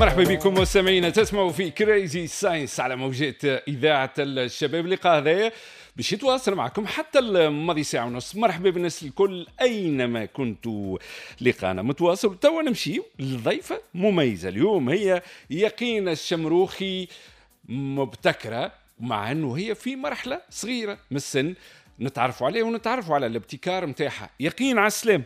مرحبا بكم مستمعينا، تسمعوا في Crazy Science على موجات اذاعة الشباب. اللقاء هذايا باش يتواصل معكم حتى الماضي ساعة ونص. مرحبا بالناس الكل اينما كنتوا، لقانا متواصل. توا نمشي لضيفه مميزة اليوم، هي يقين الشمروخي، مبتكره مع انه هي في مرحلة صغيرة من السن. نتعرفوا عليه ونتعرفوا على الابتكار نتاعها. يقين، على السلام.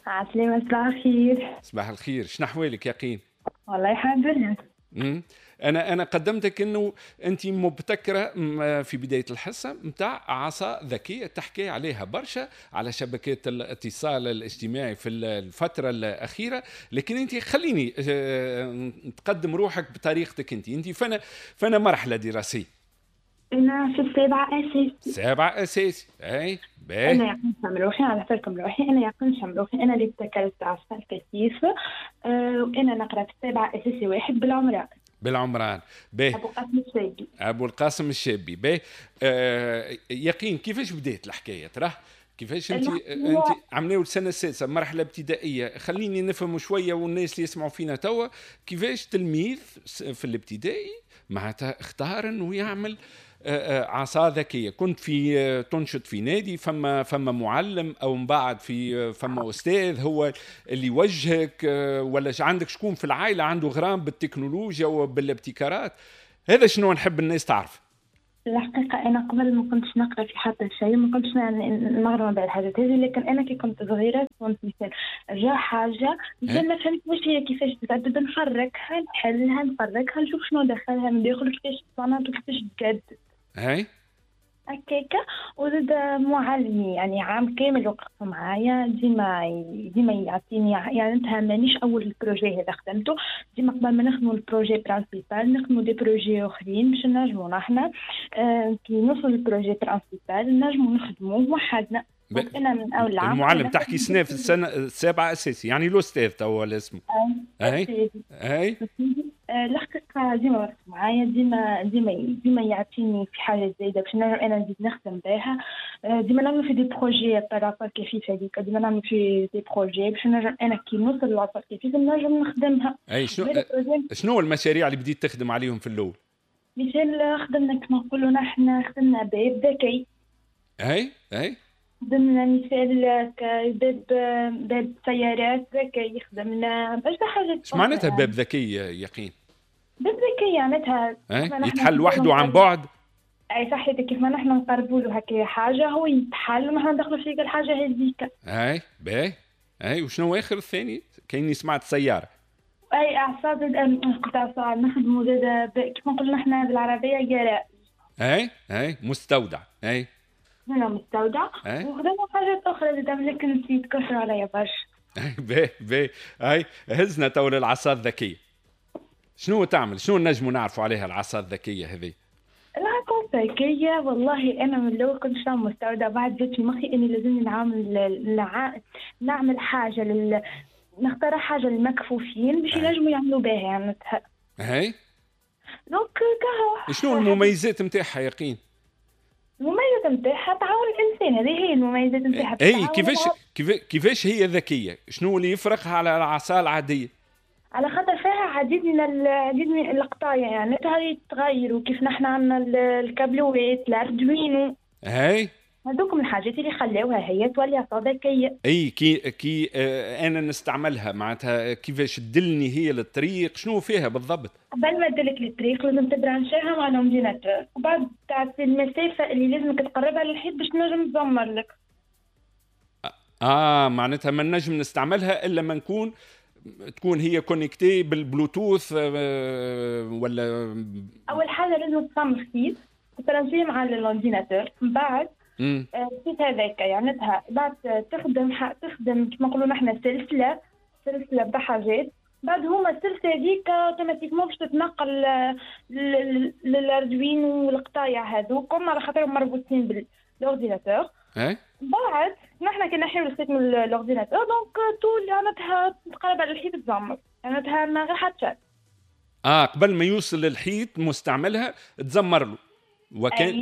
على السلامة، صباح الخير. صباح الخير، شنو احوالك يقين؟ والله الحمد لله. انا قدمتك انه انت مبتكره في بداية الحصة نتاع عصا ذكية تحكي عليها برشا على شبكات الاتصال الاجتماعي في الفترة الاخيره، لكن انت خليني تقدم روحك بطريقتك انت. انت فانا مرحلة دراسيه؟ انا في السابعة اساسي. سابعه اساسي، اي باهي. انا يقين شمروخي، على بالكم روحي، انا يقين شمروخي، انا اللي ابتكرت عصا الكثيف وانا نقرا في السابعة اساسي واحد بالعمران. بالعمران، باهي. ابو القاسم الشابي. ابو القاسم الشابي، باهي. يقين، كيفاش بدات الحكاية تراه؟ كيفاش انت عملناو السنة السادسه، مرحلة ابتدائيه، خليني نفهم شوية والناس اللي يسمعوا فينا توا، كيفاش تلميذ في الابتدائي معناتها اختار انه يعمل عصا ذكيه؟ كنت في تنشط في نادي، فما معلم او من بعد في فما استاذ هو اللي يوجهك، ولا عندك شكون في العائلة عنده غرام بالتكنولوجيا وبالابتكارات؟ هذا شنو نحب الناس تعرف. الحقيقة أنا قبل ما كنتش نقرأ في حتى شيء، ما كنتش نغرم بالحاجات هذه، لكن أنا كي كنت صغيرة كنت مثال جا حاجة مثال ما فهمت واش هي، كيفاش تتعدد، نحركها، نحلها، نفركها، نشوف شنو دخلها من داخل، كيفاش تصنعت وكيفاش تجدد. هكاكا. وزاد معلمي يعني عام كامل وقف معايا، ديما ديما يعطيني، يعني انت مانيش اول projet هذا خدمته، ديما قبل ما نخدموا ال projet principal نخدموا des projets اخرين باش نجموا نحنا كي نوصل لل projet principal نجموا نخدموه وحدنا. انا من اول عام المعلم تحكي سنة في السنة السابعة اساسي، يعني الاستاذ توا اسمه. اي اي. الحقيقة ديما وقف معايا، ديما ديما ديما يعطيني في حاجة زايدة باش نجم أنا نزيد نخدم بها. ديما نعمل في des projets par rapport كيفيف هذيك، ديما نعمل في des projets باش نجم أنا كي نوصل للعصا كيفيف نجم نخدمها. اي، شنو المشاريع اللي بديت تخدم عليهم في الأول؟ مثال خدمنا كما نقولوا نحن خدمنا باب ذكي. اي اي. خدمنا مثال باب سيارات ذكي، خدمنا برشا حاجات. ايش معناتها باب ذكي يقين؟ باب ذكي معناتها يتحل وحده عن بعد. اي صحيح، كيف ما نحن نقربوا له هكا حاجة هو يتحل ونحن ندخلوا فيه الحاجة هذيك. اي باهي. اي، وشنو اخر الثاني؟ كايني سمعت سيارة. اي اعصاب، قلت اعصاب نخدموا زاد كيف نقولوا نحن بالعربية جراء. اي اي، مستودع. اي هنا مستودع. وخدمنا حاجات اخرى زاد لكن نسيت، كثر عليا برشا. باهي باهي. اي هزنا تو للعصا الذكية، شنو تعمل؟ شنو نجموا نعرفوا عليها العصا الذكية هذه؟ العصا الذكية والله انا من الاول كنت نعمل مستودع، بعد جات في مخي اني لازمني نعمل حاجة نختار حاجة للمكفوفين باش ينجموا يعملوا بها يعني. هاي donc كهو. شنو المميزات نتاعها يقين؟ المميزات نتاعها تعاون الانسان، هذه هي المميزات نتاعها. اي كيفاش هي ذكية؟ شنو اللي يفرقها على العصا العادية؟ على خاطر فيها عديد من القطايع، يعني هذه تغير، وكيف نحن عندنا الكابلوات، ال Arduino. هاي هذوك من الحاجات اللي خلاوها هي تولي عصا ذكية. اي كي انا نستعملها معناتها كيفاش تدلني هي للطريق؟ شنو فيها بالضبط؟ قبل ما تدلك للطريق لازم تبرانشيها مع l'ordinateur، وبعد تعطي المسافة اللي لازمك تقربها للحيط باش تنجم تزمر لك. معناتها ما نجم نستعملها الا ما تكون هي connectée بالبلوتوث ولا؟ اول حاجة لازم تصمم خيط تبرانشيه مع l'ordinateur، من بعد الخيط هذاك يعني بعد تخدم كما نقولوا نحن سلسلة بحاجات، بعد هما السلسلة هذيك automatiquement باش تتنقل لل Arduino والقطايع هذوكم على خاطرهم مربوطين بال ordinateur. بعد نحن كي نحيو الخيط من l'ordinateur donc طول معناتها تقرب على الحيط تزمر، معناتها ما غير حتى. قبل ما يوصل للحيط مستعملها تزمر له.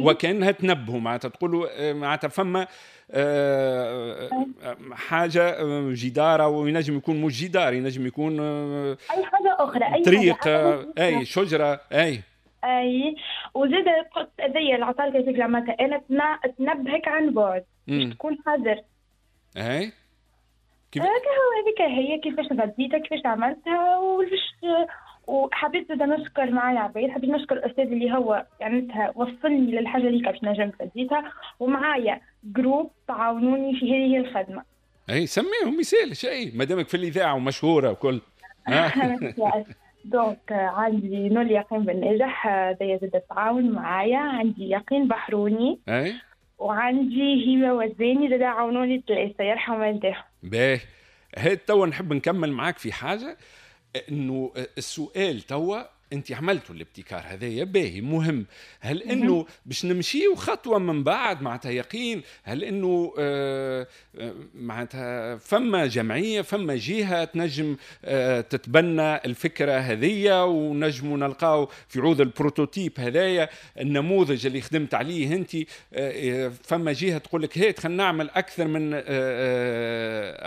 وكانها تنبهوا، معناتها تقولوا معناتها فما حاجة جدار، او ينجم يكون مش جدار، ينجم يكون اي حاجة اخرى، اي طريق، اي شجرة، اي اي. وزيد قلت هذيا العصا الكفيفه اللي عملتها انا تنبهك عن بعد باش تكون حذر. اي كيف هذيك هي كيفاش غديتها، كيفاش عملتها. وحبيت زاد نشكر معايا عبيد، حبيت نشكر الاستاذ اللي هو يعني وصلني للحاجة اللي باش نجم فديتها، ومعايا groupe تعاونوني في هذه الخدمة. اي سميهم مثال شيء ما دامك في الاذاعة ومشهوره وكل. donc عندي نور يقين بالنجاح هذايا زاد تعاون معايا، عندي يقين بحروني، اي وعندي هبه وزاني زاد عاونوني ثلاثة، يرحم والديهم. باهي، هات توا نحب نكمل معاك في حاجة، انه السؤال توا انت عملتوا الابتكار هذايا باهي مهم، هل انه باش نمشيو خطوة من بعد معناتها يقين، هل انه معناتها فما جمعية، فما جهة تنجم تتبنى الفكرة هذيا، ونجموا نلقاو في عوض ال prototype هذايا النموذج اللي خدمت عليه انت، فما جهة تقول لك هات خلينا نعمل اكثر من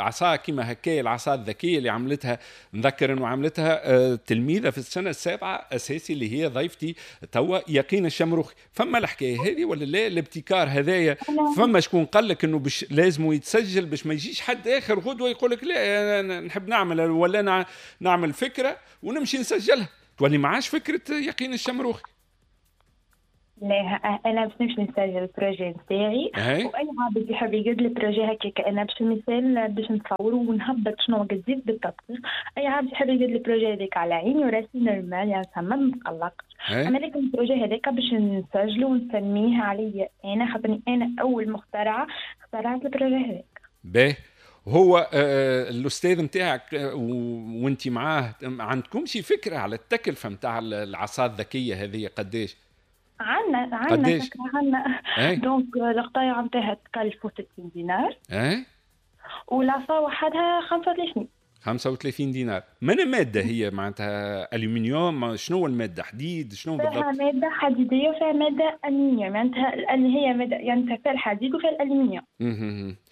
عصا كيما هكايا العصا الذكية اللي عملتها، نذكر انه عملتها تلميذه في السنة السابعة اساسي اللي هي ضيفتي توا يقين الشمروخي. فما الحكاية هذه ولا لا؟ الابتكار هذايا فما شكون قال لك انه باش لازم يتسجل باش ما يجيش حد اخر غدوه يقول لك لا أنا نحب نعمل ولا نعمل فكرة ونمشي نسجلها، تولي معاش فكرة يقين الشمروخي. لا انا باش نمشي نسجل ال projet نتاعي، واي عبد يحب يقد ال projet هكاك انا باش مثال باش نصورو ونهبط شنو قديت بالتدقيق، اي عبد يحب يقد ال projet هذاك على عيني وراسي normal، يعني ما نتقلقش. اما لكن ال projet هذاك باش نسجلو ونسميه عليا انا، خاطرني انا اول مخترعه اخترعت ال projet هذاك. باهي، هو الاستاذ نتاعك وانت معاه عندكم شي فكرة على التكلفة نتاع العصا الذكية هذه قداش؟ عندنا فكرة، عندنا donc القطايع نتاعها تكلفوا 60 دينار. اي والعصا وحدها 35 دينار. من مادة هي معناتها؟ الومنيوم؟ شنو المادة؟ حديد؟ شنو بالضبط؟ فيها مادة حديديه وفيها مادة الومنيوم، معناتها اللي هي مادة يعني فيها الحديد وفيها الالومنيوم.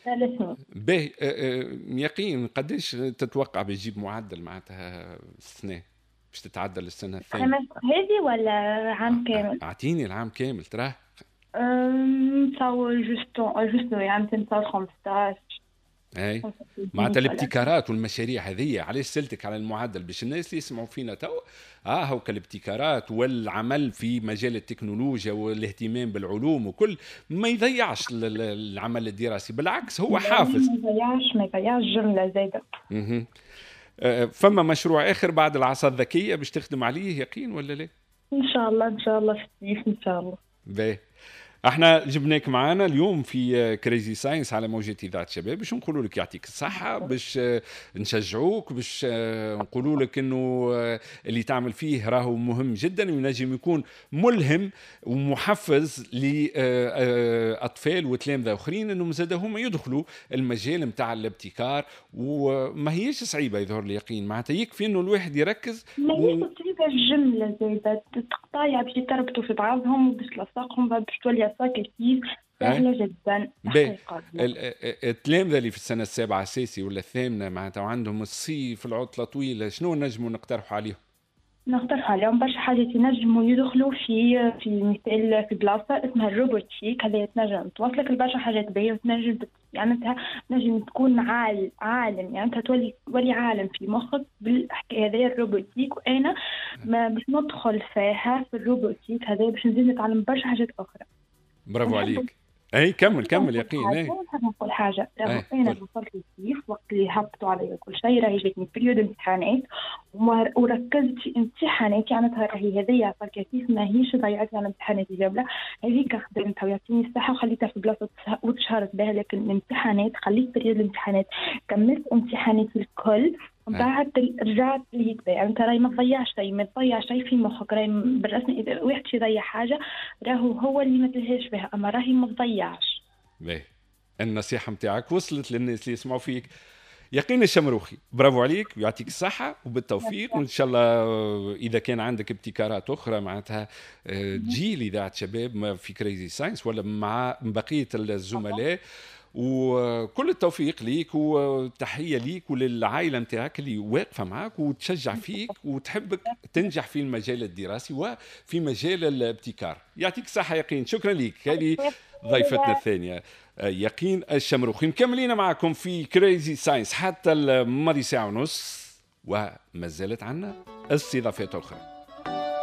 الاثنين. باهي يقين قداش تتوقع باش تجيب معدل معناتها السنة باش تتعدل السنة الثانية؟ هذه ولا عام كامل؟ اعطيني العام كامل تراه. نتصور juste يعني نتصور 15. اي معناتها الابتكارات والمشاريع هذه، علاش سألتك على المعدل؟ باش الناس اللي يسمعوا فينا تو هو الابتكارات والعمل في مجال التكنولوجيا والاهتمام بالعلوم وكل ما يضيعش العمل الدراسي، بالعكس هو حافز. ما يضيعش جملة زايدة. فما مشروع اخر بعد العصا الذكية باش تخدم عليه يقين ولا لا؟ ان شاء الله، ان شاء الله في الصيف ان شاء الله. باهي، احنا جبناك معانا اليوم في Crazy Science على موجة اذاعة الشباب باش نقولوا لك يعطيك الصحة، باش نشجعوك، باش نقولوا لك انه اللي تعمل فيه راهو مهم جدا وينجم يكون ملهم ومحفز لاطفال وتلامذه اخرين انهم زاد هما يدخلوا المجال نتاع الابتكار، وما هيش صعيبة يظهر لي يقين، معناتها يكفي انه الواحد يركز. ما هيش صعيبة الجملة زايدة، تقطايع باش يتربطوا في بعضهم وباش تلصقهم باش تولي كيف سهلة جدا. التلامذة اللي في السنة السابعة أساسي ولا الثامنة معناتها وعندهم الصيف العطلة طويلة، شنو نجموا نقترحوا عليهم؟ نقترحوا عليهم برشا حاجات ينجموا يدخلوا في مثال في بلاصة اسمها ال robotique، هذه تنجم توصلك لبرشا حاجات باهية وتنجم يعني تنجم تكون عالم، يعني تولي عالم في مخك بالحكاية هذه ال robotique. وأنا ما باش ندخل فيها في ال robotique هذا باش نزيد نتعلم برشا حاجات أخرى. برافو عليك. اي كمل يقين. اي نحب نقول حاجة، انا وصلت للصيف وقت اللي هبطوا علي كل شيء، راهي جاتني période امتحانات وركزت في امتحاناتي، يعني راهي هذيا فالكثيف ماهيش ضيعت على امتحاناتي جملة، هذيك خدمتها ويعطيني الصحة وخليتها في بلاصة وتشهرت بها، لكن الامتحانات خليت période الامتحانات، كملت امتحاناتي الكل بعد رجعت لهيك. يعني انت راهي ما تضيعش شيء، ما تضيع شيء في مخك، راهي بالرسمي اذا واحد يضيع حاجة راهو هو اللي ما تلهاش بها، اما راهي ما تضيعش. باهي، النصيحة نتاعك وصلت للناس اللي يسمعوا فيك. يقين الشمروخي، برافو عليك ويعطيك الصحة وبالتوفيق، وان شاء الله اذا كان عندك ابتكارات اخرى معناتها تجي لاذاعة شباب في Crazy Science ولا مع بقية الزملاء، وكل التوفيق ليك وتحية ليك وللعائله نتاعك اللي واقفة معك وتشجع فيك وتحبك تنجح في المجال الدراسي وفي مجال الابتكار. يعطيك الصحة يقين، شكرا لك. هذه ضيفتنا الثانية يقين الشمروخي. مكملين معكم في Crazy Science حتى الماضي ساعة ونص، وما زالت عنا استضافات اخرى.